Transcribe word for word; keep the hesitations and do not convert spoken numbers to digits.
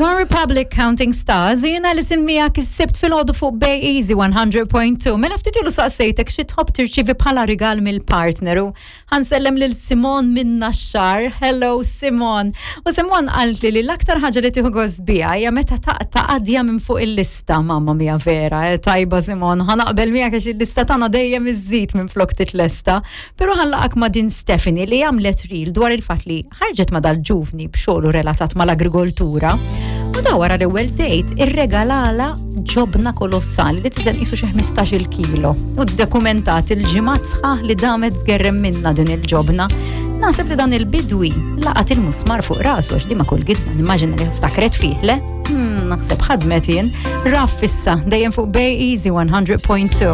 One Republic Counting Stars, jiena li simmija is-Sibt filgħodu fuq Bay Easy one hundred point two. Mela ftit ilu saqsejtek xi tħobb tirċivi bħala rigal mill-partner u ħa nsellem lil Simon minn Naxxar. Hello, Simon. U Simon qalt li li l-aktar ħaġa li tieħu gost biha hija meta taqta' qadja minn fuq il-lista. Mamma mia, vera, eh, tajba Simon, ħa naqbel miegħek għax il-lista tagħna dejjem iżżid minn flok titlesta. Però ħa nlaqgħek ma' din Stephanie li għamlet reel dwar il-fatt li ħarġet ma' dal-ġuvni b'xogħlu relatat mal-agrikoltura. U da wara l-ewwel date irregalala ġobna kolossali li tiżen qisu xi ħmistax-il kilo. U dokumentat il-ġimgħat sħaħ li damet tgerrem minna din il-ġobna. Naħseb li dan il-bidwi laqat il-musmar fuq rasu għax di ma kull gidma nimmaġina li ftakret fih, le? Hmm, naħseb ħadmet jien. Raff issa dejjem fuq Bay Easy one hundred point two.